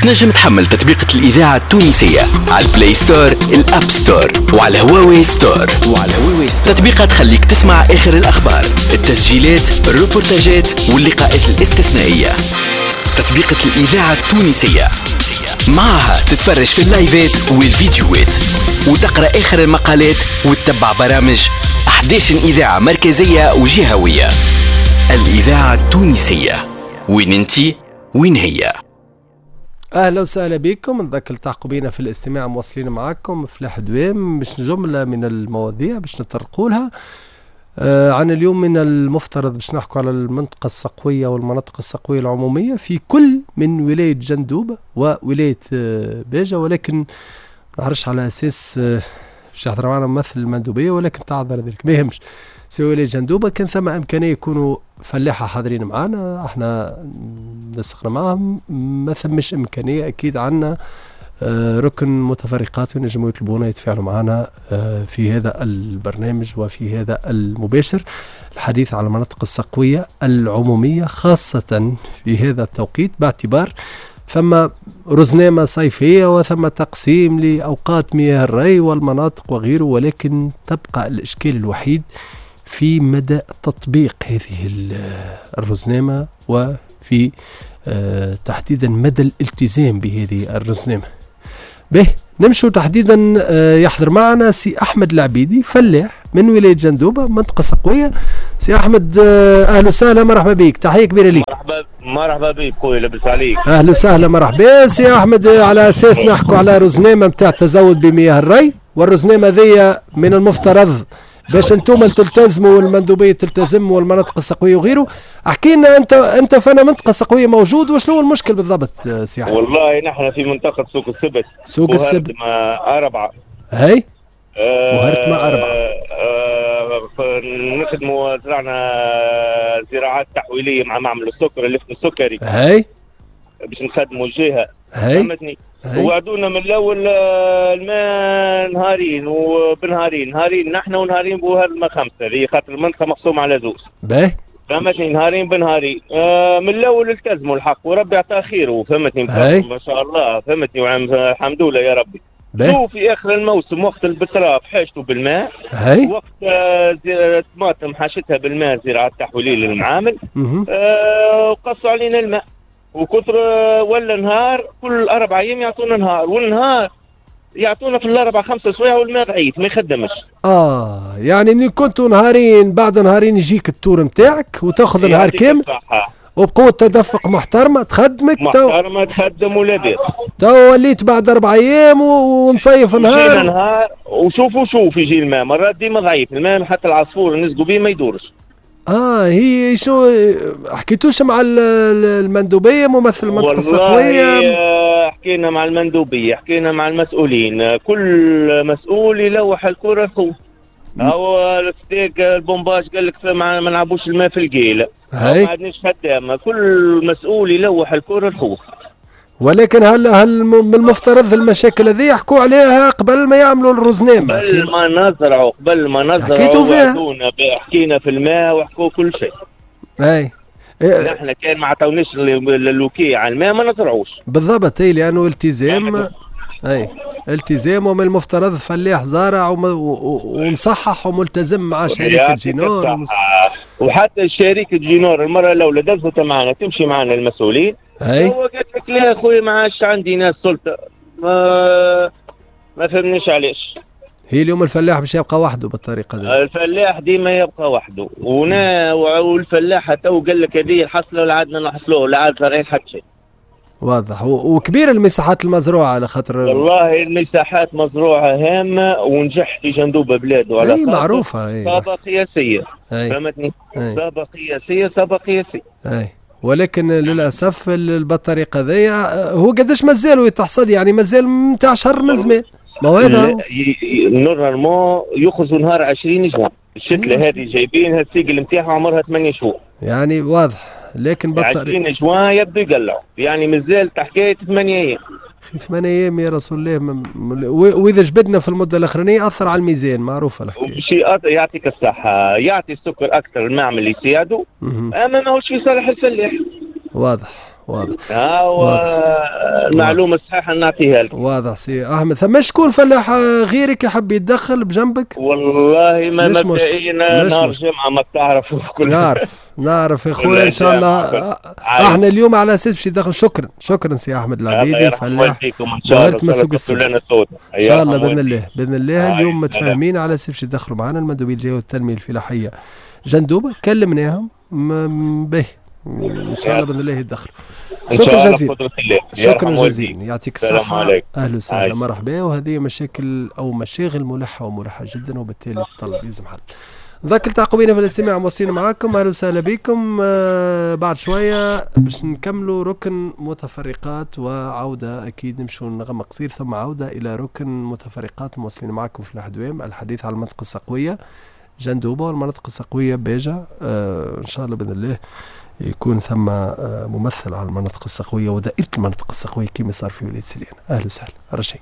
تنجم تحمل تطبيقة الإذاعة التونسية على ال Play Store، ال App Store وعلى هواوي Store. تطبيقة تخليك تسمع آخر الأخبار، التسجيلات، الروبورتاجات واللقاءات الاستثنائية. تطبيقة الإذاعة التونسية معها تتفرج في اللايفات والفيديوهات وتقرأ آخر المقالات وتتبع برامج 11 إذاعة مركزية وجهوية. الإذاعة التونسية، وين انتي وين هي. اهلا وسهلا بكم، نذكر التحقوا بينا في الاستماع، مواصلين معاكم فلاح دوام باش جملة من المواضيع باش نطرقوا لها. عن اليوم من المفترض باش نحكوا على المنطقة السقوية والمناطق السقوية العمومية في كل من ولاية جندوبة وولاية باجة، ولكن ما نعرفش على أساس باش يحضر معنا ممثل المندوبية، ولكن تعذر ذلك ما يهمش. سوى ولاية جندوبة كان ثم إمكانية يكونوا فلاحة حاضرين معنا، احنا نسقنا معهم، ما ثمش إمكانية أكيد عنا ركن متفرقات ونجموا يطلبونا يتفاعلوا معنا في هذا البرنامج وفي هذا المباشر. الحديث على المناطق السقوية العمومية خاصة في هذا التوقيت، باعتبار ثم رزنامة صيفية وثم تقسيم لأوقات مياه الري والمناطق وغيره، ولكن تبقى الإشكال الوحيد في مدى تطبيق هذه الرزنامة وفي تحديدا مدى الالتزام بهذه الرزنامة. به نمشوا تحديدا، يحضر معنا سي أحمد العبيدي، فلاح من ولاية جندوبة، منطقة سقوية. سي أحمد، أهلا وسهلا، مرحبا بك، تحية كبيرة لك. مرحبا مرحبا بك خويا، لاباس عليك؟ أهلا وسهلا، مرحبا سي أحمد. على أساس نحكوا على رزنامة نتاع تزود بمياه الري، والرزنامة ذي من المفترض باش انتم تلتزموا والمندوبيه تلتزم والمناطق السقويه وغيره. احكي لنا انت فانا منطقة سقويه موجود، وشنو المشكل بالضبط سي احمد؟ والله نحن في منطقة سوق السبت. سوق السبت أربعة. هاي وهرتما أربعة. نخدموا، زرعنا زراعات تحويليه مع معمل السكر اللي اسمه السكري. هاي باش نخدموا الجهة. فهمتني؟ وعدونا من الاول الماء نهارين وبنهارين، نهارين نحن ونهارين بوهرمة خمسة، هذه خاطر المنطقة مقسومة على زوز. باهي. فهمتني؟ نهارين بنهارين. من الاول التزموا الحق وربي عطاه خيره، فهمتني؟ ما شاء الله، فهمتني؟ الحمد لله يا ربي. شوف في اخر الموسم وقت البتراف حاجته بالماء، وقت الطماطم حاجتها بالماء، زراعة تحويليه للمعامل. وقصوا علينا الماء وكثر، ولا نهار كل 4 أيام يعطونا نهار، والنهار يعطونا في الأربع 5 سوايع والماء ضعيف ما يخدمش. يعني من كنتوا نهارين بعد نهارين يجيك ال tour نتاعك وتاخذ نهار كامل وبقوة تدفق محترمة تخدمك، محترمة تخدم ولاباس. تو وليت بعد 4 أيام ونصيف نهار. نهار وشوفوا شوف يجي الماء مرات ديما ضعيف الماء، حتى العصفور نسقوا به ما يدورش. هي شو حكيتوش مع المندوبية ممثل المنطقة السقوية؟ والله حكينا مع المندوبية، حكينا مع المسؤولين، كل مسؤول يلوح الكرة لخوه. هو الستيك ال pompage قال لك ما نلعبوش الماء في القيلة، ما عندناش خدامة، كل مسؤول يلوح الكرة لخوه. ولكن هل من المفترض المشاكل هذه يحكوا عليها قبل ما يعملوا الرزنامة؟ قبل ما نزرعوا حكيتوا فيها، حكينا في الماء وحكوا كل شيء. اي نحن كان ما عطاوناش ال OK على الماء ما نزرعوش. بالضبط، اي لانه التزام، اي التزام، ومن المفترض فلاح زارع ومصحح وملتزم مع شركة جينور. وحتى شركة جينور المرة الأولى دزت معنا، تمشي معنا المسؤولين. هو قالت لك لا يا خويا ما عادش عندي ناس سلطة، ما فهمنيش علاش. هي اليوم الفلاح باش يبقى وحده بالطريقة دي. الفلاح ديما يبقى وحده، والفلاح تو قال لك هذه الحصله ولا عادنا نحصلوه، لا عاد زارعين حتى شيء. واضح. وكبير المساحات المزروعه على خاطر والله المساحات مزروعة هامة، ونجح في جندوبه بلاده على اي معروفة، صابه قياسية. فهمتني؟ صابه قياسية، صابه قياسية. اي ولكن للاسف بالطريقة ذي هو قداش مازالوا يتحصل، يعني مازال نتاع شهر من زمان. ما هو هذا normalement يخرجوا نهار 20 جوان. الشتله هذه جايبينها ال cycle نتاعها عمرها 8 شهور. يعني واضح، لكن بالطريقة 20 جوان يبدو يقلعوا، يعني مازال حكاية 8 ايام. 8 ايام يا رسول الله. واذا جبدنا في المدة الاخرانية اثر على الميزان، معروفة الحكاية. شيء يعطيك الصحة، يعطي السكر اكثر المعمل يساعده، اما ماهوش في صالح الفلاح. واضح. واضح. المعلومة الصحيحة نعطيها لك. واضح سي احمد. ثم شكون فلاح غيرك يحب يتدخل بجنبك؟ والله ما مبدئيا نهار الجمعة ما تعرف كل نعرف يا خويا ان شاء الله. احنا اليوم على اساس باش يدخل. شكرا شكرا سي احمد العبيدي الفلاح. ان شاء الله ان شاء الله باذن الله باذن الله اليوم متفاهمين على اساس باش يدخلوا معنا المندوبين الجهوي والتنمية الفلاحية جندوبه، كلمناهم به ان شاء الله باذن الله يدخلوا. شكرا جزيلا شكرا جزيلا، يعطيك الصحة. اهلا وسهلا مرحبا. وهذه مشاكل او مشاغل ملحة وملحه جدا، وبالتالي الطلب لازم حل. ذاك التحقوا بينا في الاستماع، مواصلين معاكم. اهلا وسهلا بكم. بعد شوية باش نكملوا ركن متفرقات وعوده، اكيد نمشوا نغم قصير ثم عوده الى ركن متفرقات. مواصلين معاكم في الحدوام الحديث على المنطقة السقويه جندوبه والمناطق السقويه باجه. ان شاء الله باذن الله يكون ثم ممثل على المناطق السقويه ودائره المناطق السقويه كما صار في ولاية سليانه. اهلا وسهلا رشيد.